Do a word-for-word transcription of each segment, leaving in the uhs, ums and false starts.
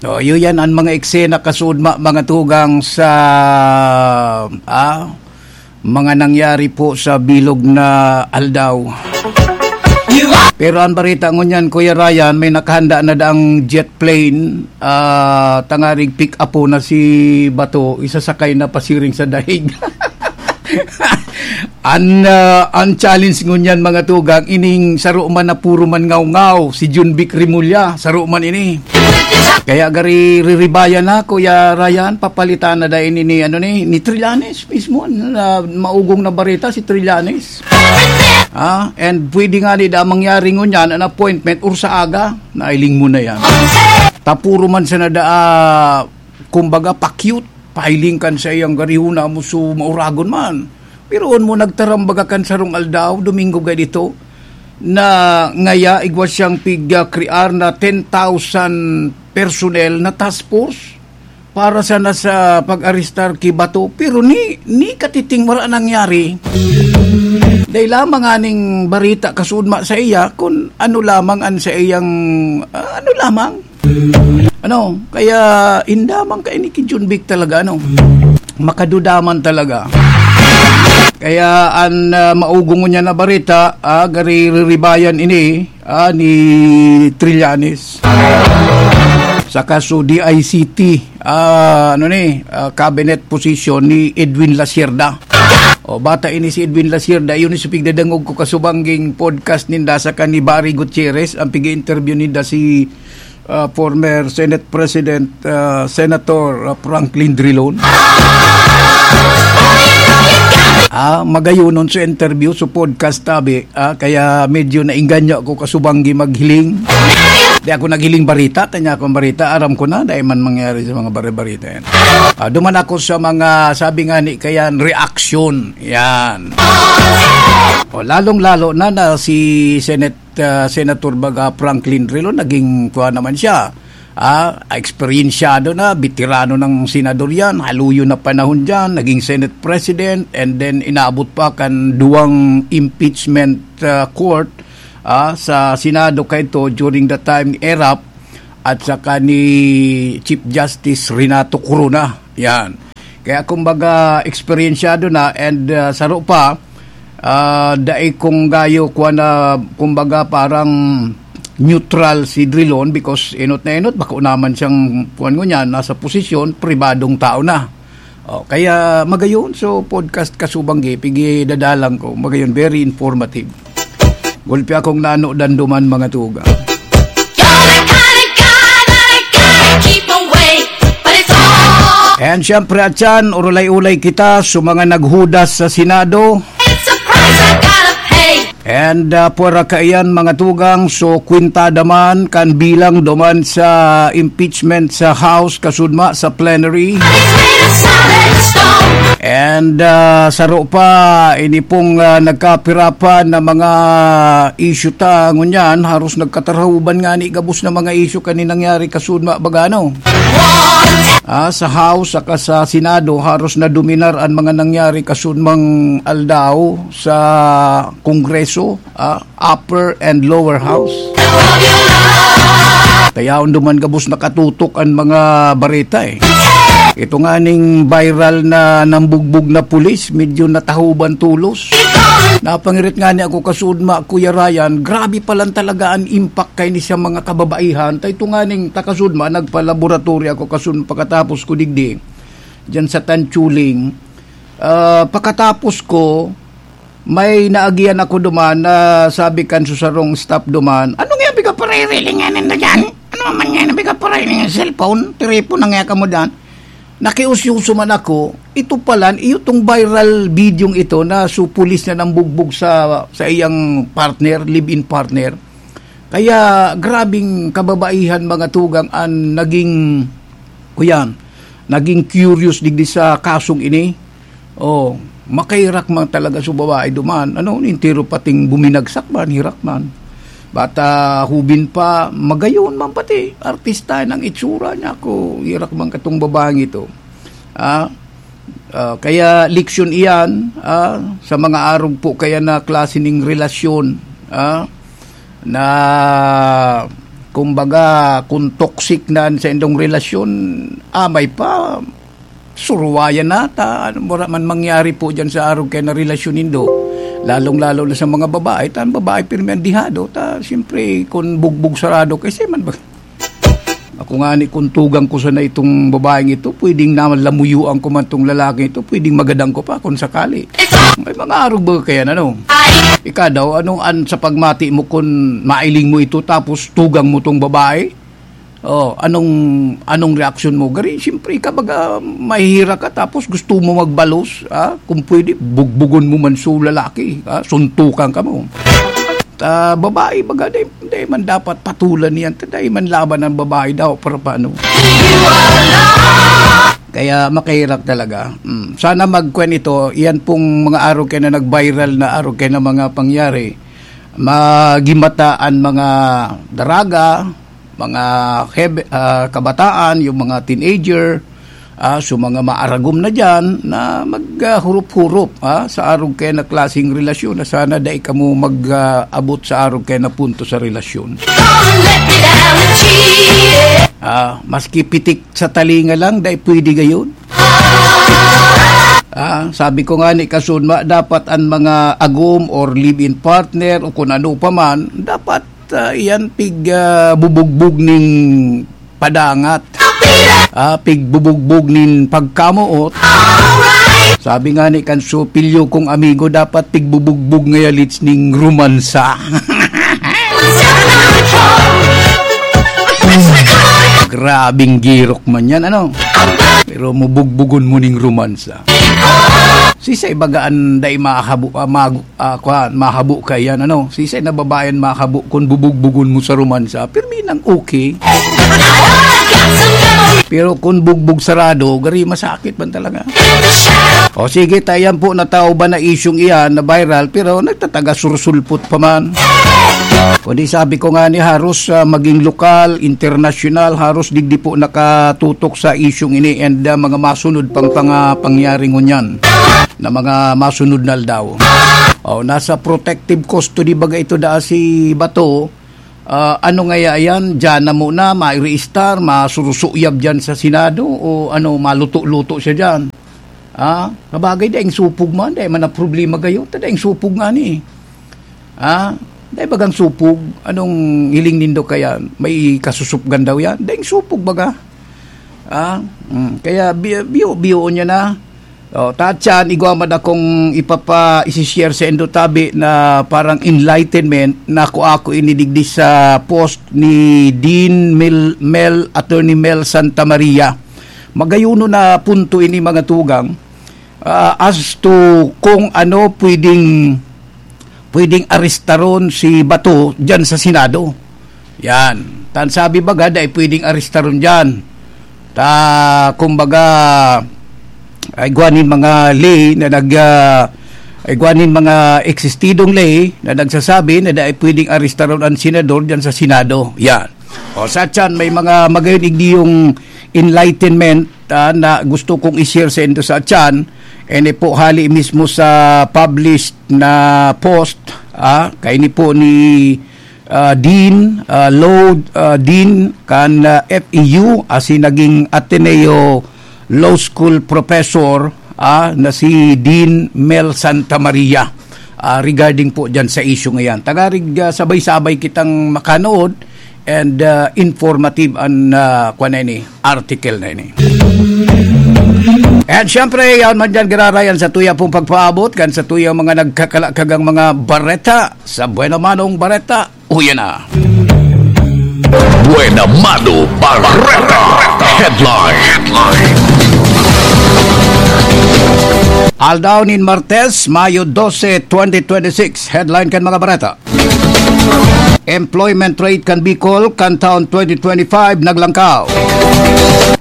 O, iyo yan ang mga eksena kasudma, mga tugang sa, ah, mga nangyari po sa bilog na aldaw. Pero ang barita ngunyan, Kuya Ryan, may nakahanda na daang jet plane, ah, tangarig pick up po na si Bato, isasakay na pasiring sa daig. An, ah, an challenge ngunyan, mga tugang, ining saro man na puro man ngaw-ngaw, si Junvic Remulla, saro man ini. Kaya gari riribayan na, Kuya Ryan, papalitan na dai ni, ni, ano ni, ni Trillanes mismo, na maugong na bareta si Trillanes. Ah, and pwede nga ni da mangyari ngunyan, an appointment, or sa aga, nailing mo na yan. Tapuro man sa nada, ah, kumbaga, pa-cute, pahiling kan sa iyang garihuna mo so mauragon man. Pero on mo nagtarambaga kan sarong aldaw, Domingo gay dito, na ngaya igwa siyang pigkrear na ten thousand personnel na task force para sana sa pag-arestar ki Bato. Pero ni, ni katiting wala nangyari. Dahil lamang aning barita kasudma sa iya, kung ano lamang an sa iyang, ah, ano lamang. Ano, kaya indaman ka ini ki Junvic talaga, ano? Makadudaman talaga. Kaya an, ah, maugong niya na barita, ah, gari riribayan ini, ah, ni Trillanes. Sa kaso D I C T, ah, ano ni, ah, cabinet position ni Edwin Lasierda. O, bata ini si Edwin Lasierda, yun yung pigdadangog ko kasubangging podcast ninda sa kan ni Barry Gutierrez, ang pig-interview ninda si, ah, former Senate President, ah, Senator, ah, Franklin Drilon. Ah, magayonon sa interview, sa podcast, tabi. Ah, kaya medyo nainganyo ako kasubanggi maghiling. Di ako naghiling barita, tanya akong barita, aram ko na, dahil man mangyari sa mga bare-barita yan. Ah, duman ako sa mga, sabi nga ni Kayan, reaction. Yan. O, lalong-lalo na na si Senate, ah, Senator baga Franklin Drilon, naging kuha naman siya. Ah, eksperyensyado na, veterano ng senador yan, haluyo na panahon dyan, naging Senate President, and then inabot pa kan duwang impeachment, ah, court, ah, sa Senado kaito during the time ni Erap at saka ni Chief Justice Renato Corona. Yan. Kaya kumbaga, eksperyensyado na and, ah, saro pa, ah, dai kung gayo kuwan na, kumbaga, parang neutral si Drilon because enot na enot, bako naman siyang kuwan ngunyan, nasa posisyon, pribadong tao na. O, kaya magayon, so podcast kasubanggi, pigi dadalan ko, magayon, very informative. Gulpi akong nano danduman, mga tuga. You're the kind of guy that I gotta keep away, but it's all And syempre, atyan, urulay-ulay kita sa mga naghudas sa Senado. It's a price I gotta pay. And, ah, pwera kaiyan, mga tugang, so kwintada man kan bilang duman sa impeachment sa House, kasudma sa plenary. It's made of solid stone. And, ah, saro pa, ini pong, ah, nagkapirapan na mga issue ta, ngunyan, haros nagkatarahuban nga ni gabos na mga issue kani nangyari kasudma bagano. Ah, sa House saka sa Senado, haros na dominar ang mga nangyari kasudmang aldaw sa Kongreso, ah, upper and lower house. Kaya duman gabos nakatutok ang mga bareta, eh. Ito nga ning viral na nambugbog na pulis, medyo natahuban tulos. Napangirit nga ni ako kasudma, Kuya Ryan, grabe pa lang talaga ang impact kay ni sa mga kababaihan. Tay ito nga ning takasudma, nagpa-laboratory ako kasudma pagkatapos ko digdi, dyan sa Tanchuling. Ah, pagkatapos ko, may naagihan ako duman na sabi kan susarong staff duman, "Ano nga pigapariling nga ninda dyan? Ano man nga pigapariling nga cellphone? Tiripon na nga kamo dyan." Nakiusyoso man ako, ito pala, iyo tong viral video ito na su pulis na nambugbog sa, sa iyang partner, live-in partner. Kaya grabing kababaihan, mga tugang, ang naging, kuyan, naging curious digdi sa kasong ini. Oh, makairak man talaga sa babae duman. Ano, entero pating buminagsak man, hirak man. Bata, hubin pa, magayon man pati. Artista ng itsura niya ako. Hirak man katong babaeng ito. Ah, ah, kaya leksyon iyan, ah, sa mga arog po kaya na klase ning relasyon, ah, na Kumbaga, kung toxic na an saindong relasyon, amay pa, suruwayan na ta. Ano, wala man mangyari po dyan sa arog kaya na relasyon nindo. Lalong-lalo na sa mga babae. Ta, ang babae, pirmi ang dihado. Ta, siyempre, kung bugbog sarado, kasi man ba? Ako nga ni, kung tugang ko sana itong babaeng ito, pwedeng naman lamuyuan ko man tong lalaki ito, pwedeng magadan ko pa kung sakali. May mga arog ba kaya na, no? Ika daw, anong an sa pagmati mo kung mailing mo ito tapos tugang mo tong babae? Oh, anong, anong reaksyon mo? Gari, siyempre, ika baga mahihira ka tapos gusto mo magbalos, ah? Kung pwede, bugbugon mo man so lalaki, ah? Suntukan ka mo. Ta, babae, baga, di, di man dapat patulan niyan. Ta, di man laban ang babae daw, para paano? Kaya makahirap talaga. Mm. Sana magkwen ito, yan pong mga arog kaya na nag-viral na arog kaya na mga pangyari. Magimata an mga daraga, mga hebe-, ah, kabataan, yung mga teenager, ah, so mga maaragom na dyan na mag, ah, hurup-hurup, ah, sa arog kaya na klaseng relasyon na sana dai kamo mag, ah, abot sa arog kaya na punto sa relasyon. Ah, maski pitik sa talinga lang, dai pwede gayon. Ah, sabi ko nga ni Kasunma, dapat ang mga agom or live-in partner o kung ano pa man, dapat, ah, iyan pig, ah, bubugbog ning padangat. Ah, pigbubugbog nin pagkamoot. Sabi nga ni kan supilyo kong amigo, dapat pigbubugbog ngaya lits ning romansa. Grabing girok man yan, ano? Pero mubugbugon mo ning romansa. Sisay baga an dai mahabo, ah, mag-, ah, kwan, mahabo ka yan, ano? Sisay na babae an mahabo kun bubugbugon mo sa romansa? Pirmi nang okay. Pero kun bugbog sarado, gari masakit man talaga. O sige, ta, yan po, natao ba na isyung iyan na viral, pero nagtataga sursulpot pa man. Kundi sabi ko nga ni, haros, ah, maging lokal, internasyonal, haros digdi po nakatutok sa isyung ini and, ah, mga masunod pang panga-, pangyari ngunyan na mga masunod na aldaw. O, nasa protective custody baga ito daa si Bato. Ah, ano ngaya yan? Diyan na muna, maireistar, masurusuyab diyan sa Senado o ano, maluto-luto siya diyan? Ah, kabagay, daing supog man, dai man na problema gayo. Ta daing supog nga ni. Ah, dai bagang supog? Anong hiling nindo kaya? May kasusupgan daw yan? Daing supog baga? Ah, mm, kaya bi-, biyo-biyoon niya na. O, ta, tiyan, igwa man akong ipapa-, isi-share sa indo tabi na parang enlightenment na ako, ako ini digdi sa post ni Dean Mel, Mel, Attorney Mel Santa Maria. Magayuno na punto ini, mga tugang, ah, as to kung ano pwedeng, pwedeng arestaron si Bato diyan sa Senado. Yan. Tan sabi baga, dai pwedeng arestaron diyan. Ta, kumbaga, ay igwa nin mga ley na nag, ah, ay igwa nin mga eksistidong ley na nagsasabi na dai pwedeng arestaron an senador diyan sa Senado. Yan. O, sa tiyan, may mga magayon igniyong enlightenment, ah, na gusto kong i-share sa indo sa tiyan. Ene po, hali mismo sa published na post, ah, kaini po ni, ah, Dean, ah, Law, ah, Dean kan, ah, F E U, asin naging Ateneo Law School professor, ah, na si Dean Mel Santa Maria, ah, regarding po diyan sa issue ngayon. Tagarig, ah, sabay-sabay kitang makanood and, ah, informative an, ah, kwan na ini, article na ini. And syempre, yaon man dyan, giraray an satuya pong pagpaabot kan satuyang mga nagkakalakagang mga bareta sa Buena Manong Bareta. Uya na. Buena Mano Bareta Headline. Aldaw nin Martes, Mayo dose, twenty twenty-six. Headline kan mga bareta. Employment rate kan Bicol kan taon twenty twenty-five naglangkaw.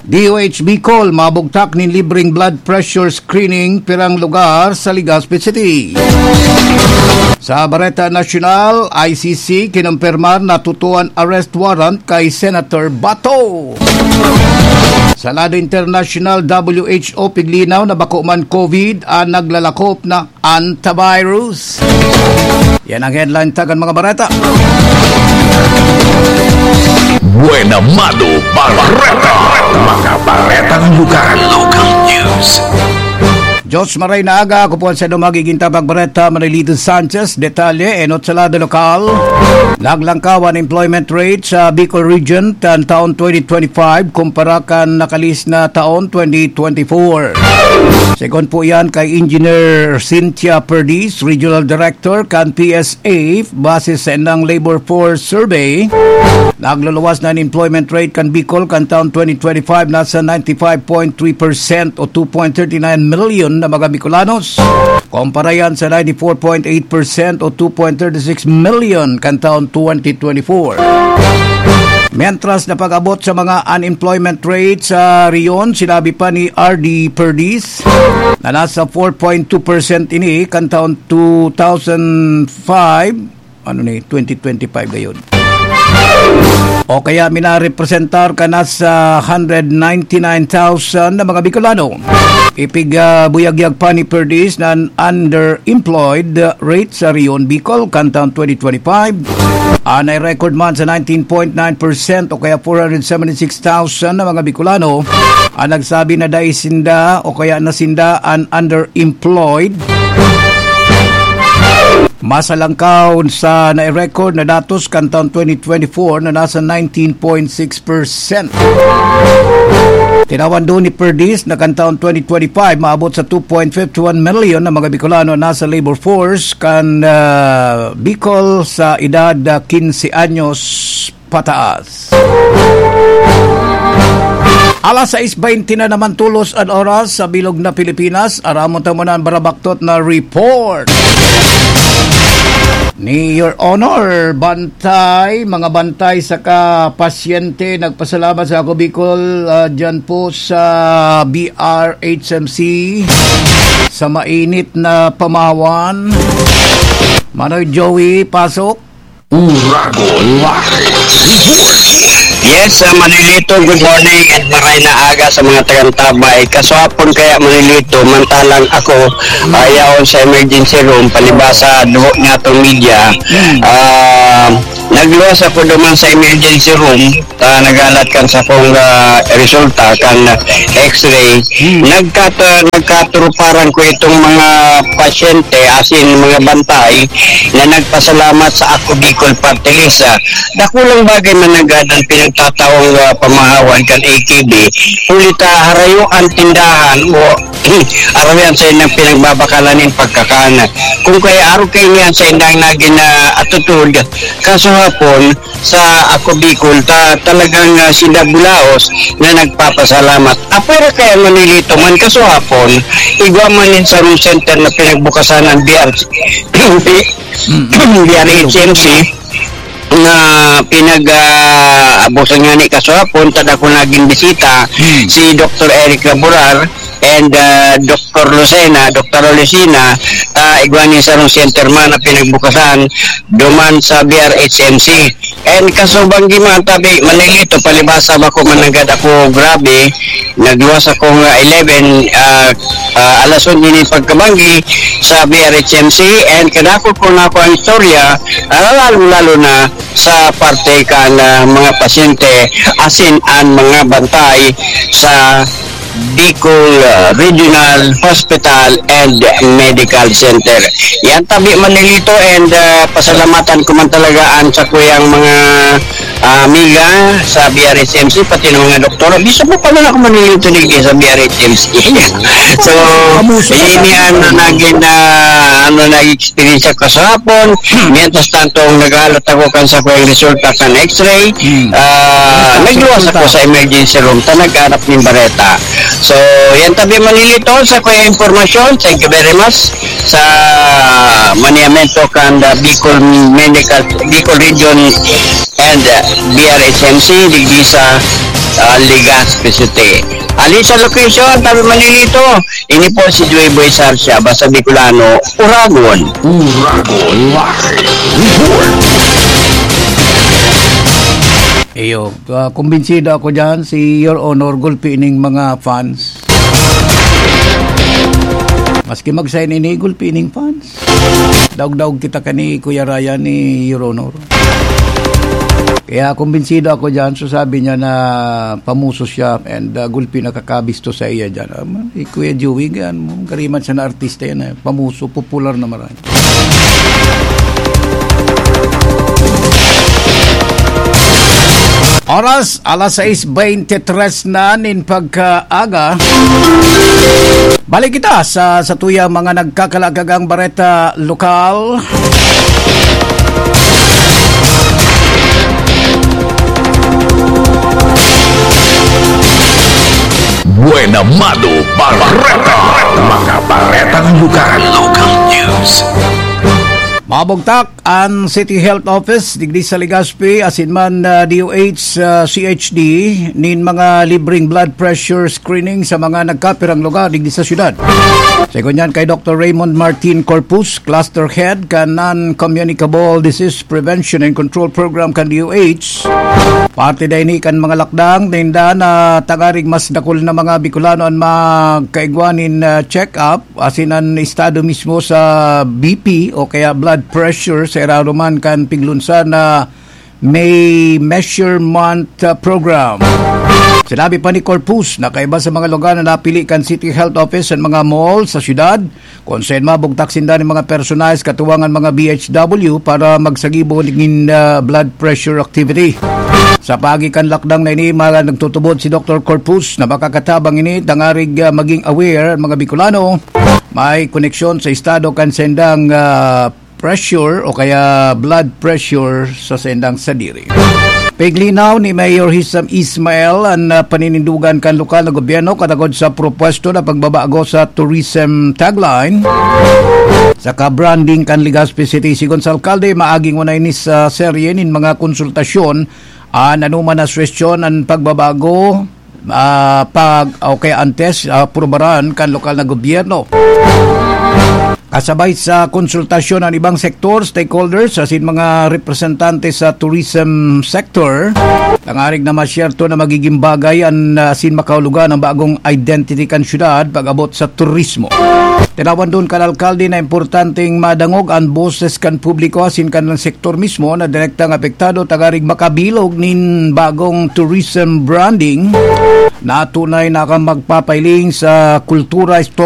D O H Bicol mabugtak nin libreng blood pressure screening pirang lugar sa Legazpi City. Sa Bareta Nasyonal, I C C kinumpirmar na tutuan arrest warrant kay Senator Bato. Sa lado internasyonal, W H O piglinaw na bako man COVID ang naglalakop na antivirus. Yan ang headline tagan mga bareta. Buena Mano Bareta. Mga baretang lokal. Local news. Diyos maray na aga, ako po ang sa magiging tabagbareta, Manilito Sanchez. Detalye, enot sa lado lokal. Naglangkaw an employment rate sa Bicol Region kan taon twenty twenty-five kumpara kan nakalis na taon twenty twenty-four. Segun po yan kay Engineer Cynthia Perdiz, Regional Director kan P S A, base sa indang Labor Force Survey. Nagluluwas na an employment rate kan Bicol kan taon twenty twenty-five, nasa ninety-five point three percent o two point thirty nine million na mga Bicolanos. Kumpara yan sa ninety-four point eight percent o two point thirty six million kan taon twenty twenty-four. Mientras na pag-abot sa mga unemployment rate sa rehiyon, sinabi pa ni R D Perdiz na nasa four point two percent ini kan taon two thousand five, ano ni, twenty twenty-five gayon. O kaya minarepresentar ka na sa hundred ninety-nine thousand na mga Bicolano. Ipig, ah, buyagyag pa ni Perdiz na an underemployed rate sa Rion Bicol kan taon twenty twenty-five. Ah, nai-record man sa nineteen point nine percent o kaya four hundred seventy-six thousand na mga Bicolano ang nagsabi na dai sinda o kaya na sinda an underemployed. Masalangkaw sa nai-record na datos kan taon twenty twenty-four na nasa nineteen point six percent. Tinawan doon ni Perdiz na kan taon twenty twenty-five, maabot sa two point fifty one million na mga Bicolano na nasa labor force kan, ah, Bicol sa edad, ah, quince anyos pataas. Alas sais bente na naman tolos an oras sa bilog na Pilipinas. Aramon ta muna an barabaktot na report ni Your Honor. Bantay, mga bantay saka pasyente, nagpasalamat sa Ako Bicol, ah, dyan po sa B R H M C, sa mainit na pamahawan. Manoy Joey, pasok. Uragon Live Report. Yes, uh, Manilito, good morning and maray na aga sa mga tagantabay. Kaswapon kaya, Manilito, mantalang ako, uh, yaon sa emergency room, palibasa dugo niya itong media. Ah, nagluwas ako duman sa emergency room, ah, nagalat kan sa kong, ah, resulta kan x-ray. Hmm. Nagkat-, ah, nagkaturuparan ko itong mga pasyente, asin mga bantay na nagpasalamat sa Ako Bicol Party List. Ah, dakulang bagay man nanggad ang pinagtataong, ah, pamahawan kan A K B. Huli ta harayo ang tindahan o araw yan sa indang pinagbabakalan nin pagkakan. Kung kaya araw kayo niyan sa indang nagin na atutod, kaso hapon, sa Ako Bicol, ta-, talagang, ah, sinda bulaos na nagpapasalamat. Apwera kaya Manilito man, kaso hapon, igwa man nin sarong center na pinagbukasan ng B R C, Mm. B R H M C, na pinag, ah, abusan nga ni kaso hapon, tada ko naging bisita, Mm. si Doctor Eric Laborar and, ah, Doctor Lucena, Doctor Lucena, ah, igwa nin sarong center man na pinagbukasan duman sa B R H M C. And kasubang di man tabi, Manilito, palibasa bako mananggad ako, grabe, nagluwas ako nga eleven, ah, ah, alas onse nin pagkabanggi sa B R H M C, and kadakol ko na ako ang istorya, ah, lalong-lalo na sa parte kan, ah, mga pasyente, asin an mga bantay sa Bicol, uh, Regional Hospital and Medical Center. Yan tabi, Manilito, and, uh, pasalamatan ko man talaga ang sakuyang mga, uh, amiga sa B R H M C, pati ng mga doktor. Gusto ko pala na ako, Manilito, digdi sa B R H M C. So, Kamusta? Ini ang naging, uh, ano, nag-experience ko sa hapon. Mientras tanto, ang naghalat ako kan sakuyang resulta kan X-ray, Hmm. ah, Resulta, nagluwas ako resulta. sa emergency room, ta naghanap nin bareta. So, yan tabi, Manilito, sakuyang impormasyon. Thank you very much sa maniamento kan the Bicol Medical, Bicol Region and, uh, B R H M C, digdi sa, uh, Legazpi City. Ali sa location, tabi, Manilito, ini po si Joy Boy Sarsia, basta Bicolano, Uragon. Uragon Live Report. Iyo, ah, kumbinsido ako dyan, si Your Honor, gulpi ning mga fans. Maski mag-sign ini, gulpi ning fans. Daog-daog kita kani Kuya Ryan ni Your Honor. Kaya kumbinsido ako dyan. So sabi niya na pamuso siya and uh, gulpi nakakabisto sa iya dyan. Um, si Kuya Joey, gan, gariman siya na artista yan. Eh. Pamuso, popular na marami. Oras, alas sais beintitres na nin pagkaaga. Balik kita sa, sa tuyang mga nagkakalagagang bareta lokal. Buena Mano Bareta. Mga baretang lugar. Local news. Mabugtak an City Health Office digdi sa Legazpi asin man uh, D O H uh, C H D nin mga libreng blood pressure screening sa mga nagkapirang lugar digdi sa syudad. Segun yan kay Doctor Raymond Martin Corpus, Cluster Head kan Non-Communicable Disease Prevention and Control Program kan D O H. Parte da ini kan mga lakdang ninda na tangarig mas dakul na mga Bicolano an magkaigwa nin uh, check-up asin an estado mismo sa B P o kaya blood pressure sa irarom man kan piglunsa na may measurement uh, program. Sinabi pa ni Corpus na kaiba sa mga lugar na napili kan City Health Office an mga mall sa syudad, kung saan mabugtak sinda ng mga personahe katuwangan mga B H W para magsagibo nin uh, blood pressure activity. Sa pagi kan lakdang na ini, mga nagtutubod si Doctor Corpus na makakatabang ini tangarig uh, maging aware ang mga Bicolano may koneksyon sa estado kan sendang uh, pressure o kaya blood pressure sa sendang sadiri. Piglinaw ni Mayor Hisam Ismail an uh, paninindugan kan lokal na gobyerno katagod sa propuesto na pagbabago sa tourism tagline sa ka-branding kan Legazpi City. Sigon sa alkalde, maaging unay ni sa serye nin mga konsultasyon an anuman na suwestyon an pagbabago uh, pag okay antes uh, prubaran kan lokal na gobyerno. Kasabay sa konsultasyon ang ibang sektor, stakeholders, asin mga representante sa tourism sector, tangarig na masyerto na magiging bagay an asin makaulugan ang bagong identity kan syudad pag-abot sa turismo. Tinawan doon kan alkalde na importanteng madangog ang boses kan publiko asin kan sektor mismo na direktang apektado tangarig makabilog nin bagong tourism branding na tunay na kan magpapailing sa kultura,